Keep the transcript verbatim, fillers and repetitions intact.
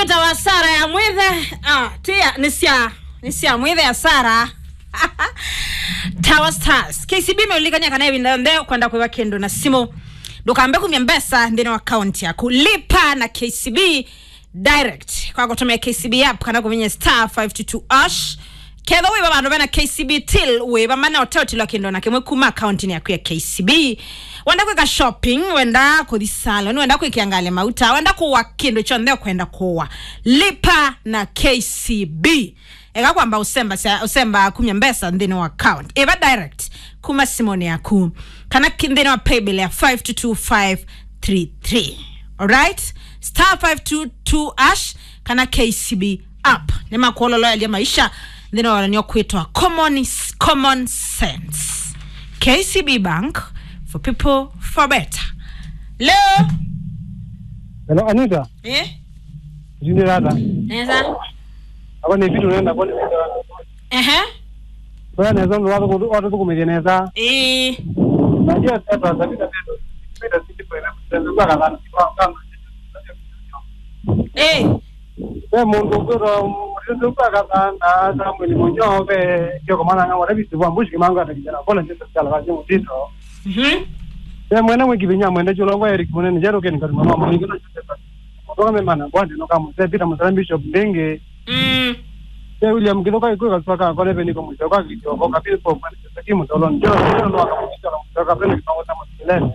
Tawa Sara ya Mwithe, ah, tia, nĩ sya, nĩ sya Mwithe ya Sara. Tawa Stars. K C B meulikania kana ĩvinda yonthe kwenda kwĩva kĩndũ na simũ. Ndũkambe kumya mbesa nthĩnĩ wa account yaku. Lipa na K C B direct kwa kũtũmĩa K C B app kana kũvinya star five two two hash. Ketha wĩva vandũ vena K C B till, wĩva mana ũteũtilwa kĩndũ na kĩmwe kuma account-inĩ yaku ya K C B. Wenda kwĩka shopping, wenda kũthi salon, wenda kwĩkĩa ngalĩ mauta, wenda kũwa kĩndũ kyonthe ũkwenda kũwa, lipa na K C B. Eka kwamba ũsemba sya, ũsemba kumya mbesa nthĩnĩ wa account ĩva direct kuma simũnĩ yaku, kana ki-, nthĩnĩ wa paybill ya five two two five three three. Alright? Star five two two hash kana K C B app. Nĩmakuololoelya maisha nthĩnĩ wa ũlanio kwĩtwa common, common sense. K C B Bank, for people, for better. Leo. Hello, Anita. Eh? Jini rata. Nesa. Ako ni vitu unaenda kwa ni vitu. Ehe. Kwa nesa ndo watu watu tukumije nesa. Eh. Na je sasa sasa vitu vitu sisi kwa na kwa kama. Eh. Ve mũndũ ũkwĩtwa mũthĩnzĩu kwa kathanda samwĩli mũnyoo ve kĩoko mananga wala visi vwa mbushi kimango atakijana kola njeso siala kwa jengo tito. Mhm. Ve mwene mwiki vinya mwende chulo kwa Eric munene jero keni kati mama mwingi na chete. Kutoka mema na kwandi no kama se Peter Musala Bishop Ndenge. Mm. Ve William Kithoka ikuka saka kone ve niko mwisho kwa kicho kwa kapili kwa kwa kimu tolon jero jero no akamukicha kwa mwisho kwa pende kimango tamu kilele.